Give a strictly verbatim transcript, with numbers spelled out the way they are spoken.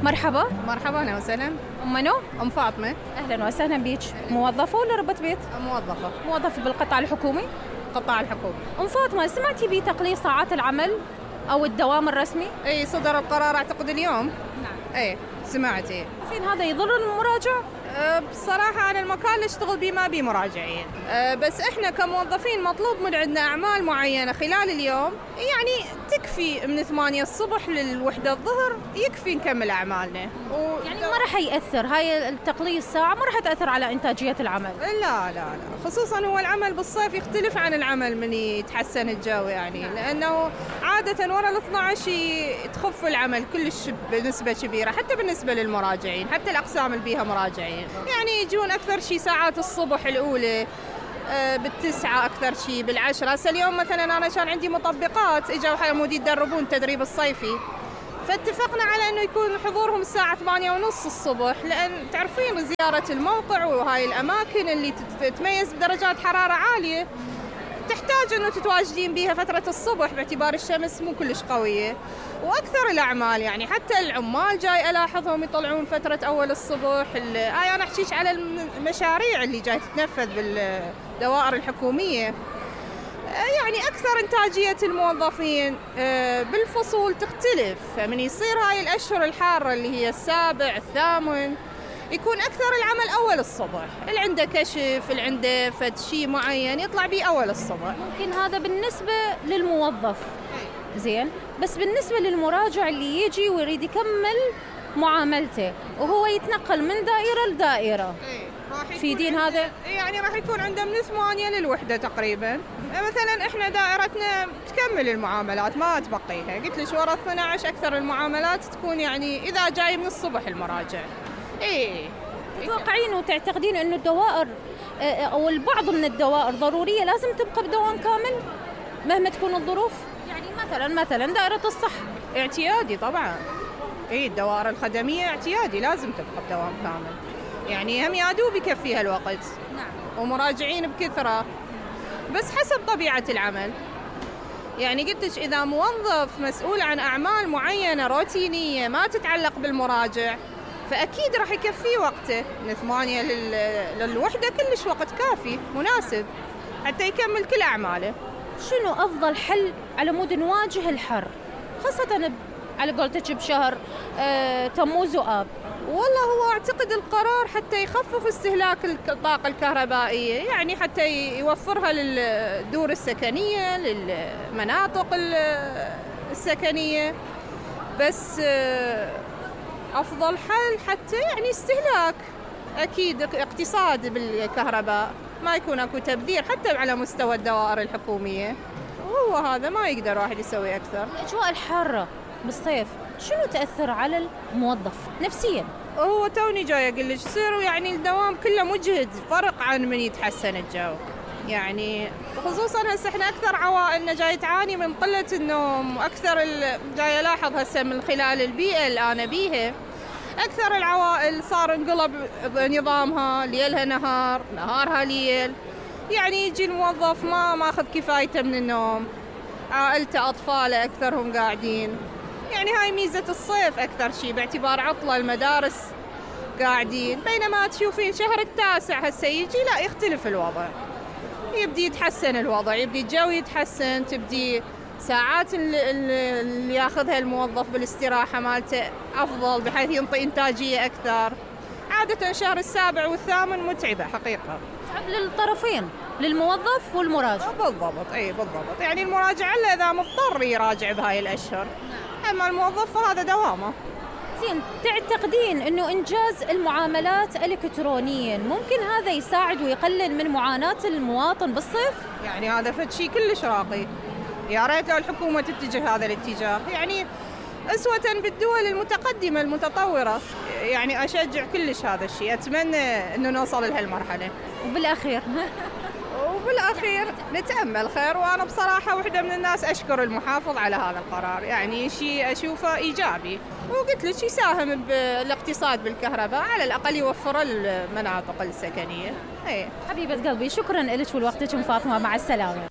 مرحبا. مرحبا، أهلا وسهلا. أم منو؟ أم فاطمة. أهلا وسهلا بيك. موظفة ولا ربة بيت؟ موظفة. موظفة بالقطاع الحكومي؟ قطاع الحكومي. أم فاطمة، سمعتي بتقليص ساعات العمل أو الدوام الرسمي؟ اي صدر القرار أعتقد اليوم. نعم. اي سمعتي. فين هذا يضر المراجع؟ أه بصراحة أنا المكان اللي أشتغل بيه ما بيه مراجعين، أه بس إحنا كموظفين مطلوب من عندنا أعمال معينة خلال اليوم، يعني تكفي من ثمانية الصبح للوحدة الظهر يكفي نكمل أعمالنا. و... يعني ما راح يأثر هاي التقليص ساعة، ما راح تأثر على إنتاجية العمل؟ لا لا لا، خصوصا هو العمل بالصيف يختلف عن العمل من يتحسن الجو، يعني نعم. لأنه عادة ورا ال اثني عشر تخف العمل كلش بنسبة كبيرة، حتى بالنسبة للمراجعين، حتى الأقسام اللي بيها مراجعين يعني يجون أكثر شيء ساعات الصبح الأولى آه بالتسعة، أكثر شيء بالعشرة. هسه اليوم مثلا أنا كان عندي مطبقات إجوا حمودي يتدربون التدريب الصيفي، فاتفقنا على أنه يكون حضورهم الساعة ثمانية ونص الصبح، لأن تعرفين زيارة الموقع وهاي الأماكن اللي تتميز بدرجات حرارة عالية تحتاج أنه تتواجدين بيها فترة الصبح باعتبار الشمس مو كلش قوية. وأكثر الأعمال يعني حتى العمال جاي ألاحظهم يطلعون فترة أول الصبح. آه أنا أحكيش على المشاريع اللي جاي تتنفذ بالدوائر الحكومية، يعني أكثر إنتاجية الموظفين بالفصول تختلف، فمن يصير هاي الأشهر الحارة اللي هي السابع الثامن يكون أكثر العمل أول الصبح، اللي عنده كشف اللي عنده فد شيء معين يطلع بيه أول الصبح. ممكن هذا بالنسبة للموظف زين، بس بالنسبة للمراجع اللي يجي ويريد يكمل معاملته وهو يتنقل من دائرة لدائرة، في دين هذا يعني راح يكون عنده من ثمانية للوحدة تقريبا. مثلا احنا دائرتنا تكمل المعاملات ما تبقيها، قلت لك ورا اثني عشر أكثر المعاملات تكون يعني إذا جاي من الصبح المراجع. إيه تتوقعين وتعتقدين إنه الدوائر أو البعض من الدوائر ضرورية لازم تبقى بدوام كامل مهما تكون الظروف؟ يعني مثلا مثلا دائرة الصحة اعتيادي طبعا. إيه الدوائر الخدمية اعتيادي لازم تبقى بدوام كامل، يعني هم يادوب يكفيها الوقت. نعم. ومراجعين بكثرة، بس حسب طبيعة العمل. يعني قلت لك إذا موظف مسؤول عن أعمال معينة روتينية ما تتعلق بالمراجع فأكيد راح يكفيه وقته، من ثمانية للوحدة كلش وقت كافي مناسب حتى يكمل كل أعماله. شنو أفضل حل على مود نواجه الحر خاصة على قولتك بشهر آه تموز وآب؟ والله هو أعتقد القرار حتى يخفف استهلاك الطاقة الكهربائية، يعني حتى يوفرها للدور السكنية للمناطق السكنية، بس أفضل حل حتى يعني استهلاك، أكيد اقتصاد بالكهرباء، ما يكون أكو تبذير حتى على مستوى الدوائر الحكومية، وهو هذا ما يقدر واحد يسوي أكثر. الأجواء الحارة بالصيف شنو تأثر على الموظف نفسياً؟ هو توني جاي أقول لك يصيروا يعني الدوام كله مجهد، فرق عن من يتحسن الجو، يعني خصوصاً هسه احنا أكثر عوائلنا جاي تعاني من قلة النوم، وأكثر جاي ألاحظ هسه من خلال البيئة اللي أنا بيها أكثر العوائل صار انقلب نظامها ليلها نهار نهارها ليل، يعني يجي الموظف ما ماخذ كفايته من النوم، عائلته أطفاله أكثرهم قاعدين، يعني هاي ميزة الصيف أكثر شيء باعتبار عطلة المدارس قاعدين، بينما تشوفين شهر التاسع هسه يجي لا يختلف الوضع، يبدي يتحسن الوضع، يبدي الجو يتحسن، تبدي ساعات اللي ياخذها الموظف بالاستراحة مالته أفضل بحيث ينطي إنتاجية أكثر. عادة شهر السابع والثامن متعبة حقيقة، متعب للطرفين، للموظف والمراجع. بالضبط، أي بالضبط، يعني المراجع إلا إذا مضطر يراجع بهاي الأشهر، أما الموظف فهذا دوامه. زين، تعتقدين إنه إنجاز المعاملات إلكترونيا ممكن هذا يساعد ويقلل من معاناة المواطن بالصيف؟ يعني هذا فد شيء كلش راقي، يا ريت لو الحكومة تتجه هذا الاتجاه، يعني أسوة بالدول المتقدمة المتطورة، يعني أشجع كلش هذا الشيء، أتمنى إنه نوصل لهالمرحلة. وبالأخير وبالأخير نتأمل خير، وأنا بصراحة واحدة من الناس أشكر المحافظ على هذا القرار، يعني شيء أشوفه إيجابي، وقلت لك يساهم بالاقتصاد بالكهرباء، على الأقل يوفر المناطق السكنية. حبيبة قلبي، شكرا لك ولوقتك أم فاطمة، مع السلامة.